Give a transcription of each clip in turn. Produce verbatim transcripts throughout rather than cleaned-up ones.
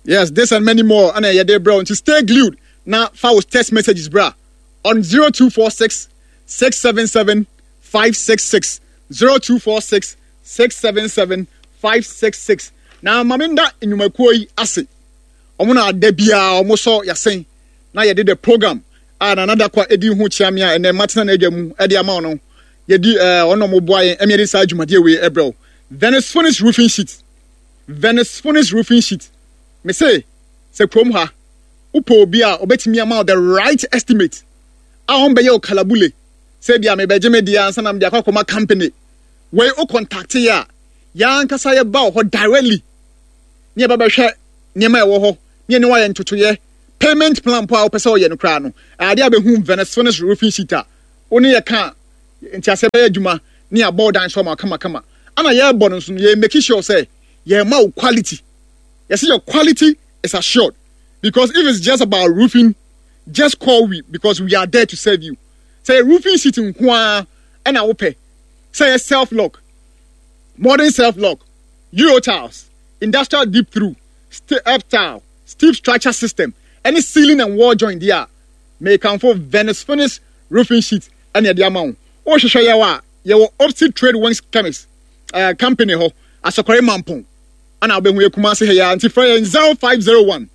Yes, this and many more ɛna yɛde brɛ wo, nti stay glued na fa wo text messages bra on zero two four six six seven seven five six six, zero two four six six seven seven five six six. Na maame nda nnwumakuo yi ase, ɔmo na ada biara ɔmo sɔ yasɛn na yɛde the program a Nana Dakwa edi ho kyia me a ɛnɛ matena n'adwa mu ɛde ama ɔno yɛdi ɛɛ ɔno ɔmo boa yɛn ɛmi yɛde saa dwumadie wei ɛbrɛ wo. Venice Phoenix Roofing Sheet, Venice Phoenix Roofing Sheet, me se sɛ kurom ha wopɛ obi a ɔbɛtumi ama wo the right estimate a ɔmbɛyɛ wo kalabule sɛ bia mebɛgye me deɛ ansa na mede akɔ akɔma company wei, wo contact yɛ a, yɛn ankasa yɛba wɔ hɔ directly ne yɛbɛbɛhwɛ nneɛma a ɛwɔ hɔ ne yɛne wayɛ ntotoyɛ, payment plan po a wopɛ sɛ ɔyɛ no koraa no adeɛ a bɛhu Venice Phoenix Roofing Sheet a wo ne yɛ ka nti asɛ bɛyɛ adwuma ne yɛabɔ dan so ama kamakama. Ana yɛrebɔ no nso no, yɛ make sure sɛ yɛma wo quality. Yɛsɛ your quality is assured, because if it's just about roofing, just call we, because we are there to serve you. Sɛ yɛ roofing sheet nko ara ɛna wopɛ, sɛ yɛ self lock, modern self lock, euro tiles, industrial deep through, step tile, steel structure system, ɛne ceiling and wall joint deɛ a, mekanfo Venice Finish Roofing Sheet ɛne ɛde ama wo. Wohwehwɛ yɛwɔ a, yɛwɔ opposite Trade Wings Chemist uh, company hɔ, Asɔkɔre Mampɔn ana wobɛhu yɛ Kumase ha yi. Nti frɛ yɛn zero five zero one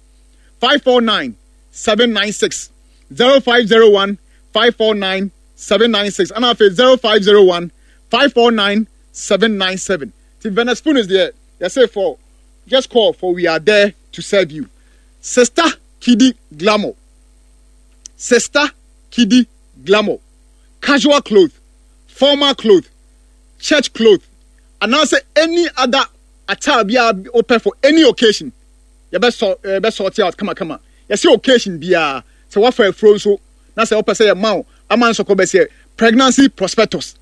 five four nine seven nine six, zero five zero one five four nine seven nine six, ana afei zero five zero one five four nine seven nine seven. Ti Venice Finish deɛ, yɛsɛ for just call, for we are there to serve you. Sister Kidi Glamour, Sister Kidi Glamour, casual cloth, formal cloth, church cloth, anaasɛ any other attire biara wopɛ for any occasion, yɛbɛ yɛbɛ sort out kamakama. Yɛsɛ occasion biara, sɛ wafa afuro nso na sɛ wopɛ sɛ yɛma wo ama nsɔkɔ bɛsɛ pregnancy prospectus,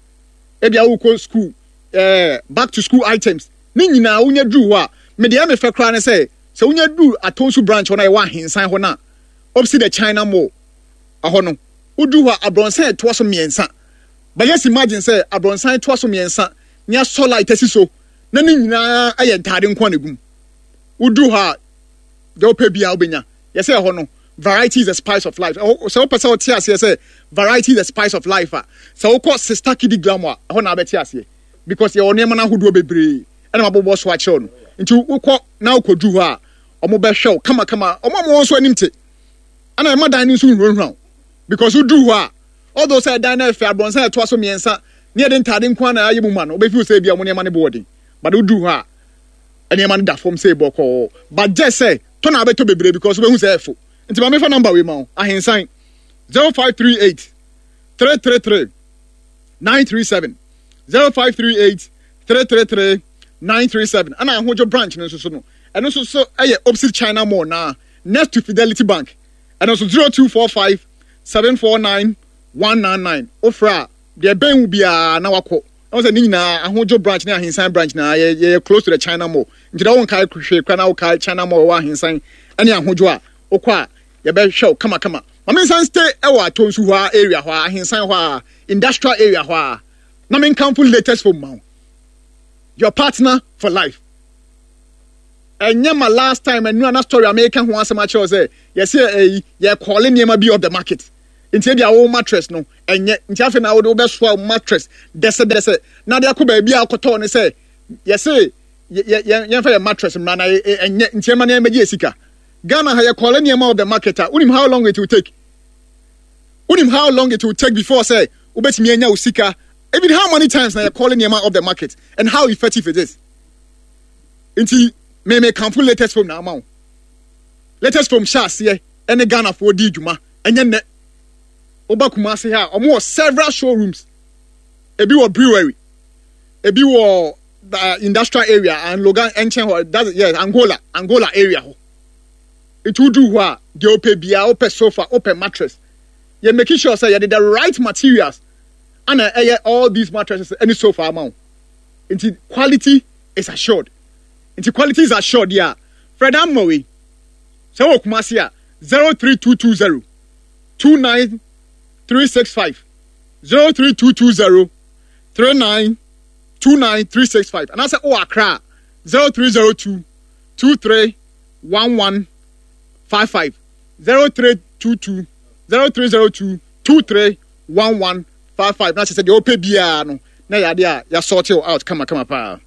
ebi a wokɔ school, ɛɛ back to school items ne nyinaa, wonya duru hɔ a, mede ɛmɛ fɛ koraa ne sɛ sɛ wonya duru Atonsu branch hɔ na yɛwɔ Ahensan hɔ na opposite the China Mall ɛhɔ no, woduru hɔ a, abrɔnsan ɛtoa so mmiɛnsa. But just imagine sɛ abrɔnsan ɛtoa so mmiɛnsa ne asɔ light asi so na ne nyinaa ɛyɛ ntaade nko a na egum. Woduru hɔ a, deɛ wopɛ biara wobɛnya. Yɛsɛ ɛhɔ no, variety is the spice of life. Sɛ wopɛ sɛ wote aseɛ sɛ variety is the spice of life a, sɛ wokɔ Sister Kidi Glamour a, ɛhɔ na wabɛte aseɛ, because yɛwɔ nneɛma no ahodoɔ bebree ɛna mabobɔ so akyerɛw no. Nti wokɔ na wokɔduru hɔ a, ɔmo bɛhwɛ wo kamakama. Ɔmo a mo nso anim te ɛna ɛma dan no nso nhurahura wo, because woduru hɔ a, although sɛ ɛdan no ɛfɛ, abrɔnsan ɛtoa so mmiɛnsa ne yɛde ntaade nko ara na ayɛ mu ma no, wobɛfi sɛ ebi a ɔmo nneɛma no bɔ ɔden, but woduru hɔ a, nneɛma no da fam sɛ bɔkɔɔ. But gye sɛ tɔ na abɛtɔ bebree, because wobɛhu sɛ ɛfo. Nti maame, fa number wei ma wo: Ahensan, zero five three eight three three three nine three seven, zero five three eight three three three nine three seven. Ɛna Ahodwo branch no nso so no, ɛno nso so ɛyɛ opposite China Mall na next to Fidelity Bank. Ɛno nso zero two four five seven four nine one nine nine. Ofra a, deɛ ɛbɛn wo biara na wakɔ ɛwɔ sɛ ne nyinaa Ahodwo branch ne Ahensan branch na yɛ yɛ close to the China Mall. Nti dɛ wɔn kae hwee kora na wɔkae China Mall ɛwɔ Ahensan ɛne Ahodwo a, wokɔ a, yɛbɛhwɛ wo kamakama. Maame, nsan stay ɛwɔ Atonsu hɔ a, area hɔ a, Ahensan hɔ a, industrial area hɔ a, na menkamfo Latest Phone ma wo, your partner for life. Ɛnyɛ ma last time ɛnu ana story a meka ho asɛm akyerɛw sɛ yɛsɛ ɛyi yɛ call nneɛma bi off the market. Nti ebi a wo mattress no ɛnyɛ, nti afei na wode wobɛsoa wo mattress dɛsɛdɛsɛ na de akɔ baabi a akɔtɔɔ ne sɛ yɛsɛ yɛ yɛ yɛmfa yɛ mattress mmra na ɛnyɛ, nti ɛma nneɛma gye sika. Ghana ha, yɛ call nneɛma off the market a, wonim how long it will take? Wonim how long it will take before sɛ wobɛtumi anya wo sika? Even how many times na yɛ call nneɛma off the market and how effective it is? Nti mɛmɛ kanfo Latest Phone na ama wo. Latest Phone hyɛ aseɛ ɛne Ghanafoɔ di dwuma ɛnyɛ nnɛ. Woba Kumase ha a, wɔn wɔ several showrooms. Ebi wɔ Brewery, ebi wɔ uh, industrial area and Logan nkyɛn hɔ, that's yes, Angola, Angola area hɔ. Nti wodu hɔ a, deɛ wopɛ biara, wopɛ sofa, wopɛ mattress, yɛ making sure sɛ yɛde the right materials ana ɛyɛ all these mattresses ɛne sofa ama wo. Nti quality is assured. Nti quality is assured yɛ a, Fred amma wei sɛ wɔ Kumase a, zero three two two zero two nine three six five, zero three two two zero three nine two nine three six five, anaasɛ wɔ Accra a, zero three zero two two three one one five five zero three two two zero three zero two two three one one five five na kyerɛ sɛ deɛ ɔpɛ biara no na yɛ adeɛ a yɛasort out kamakama paa.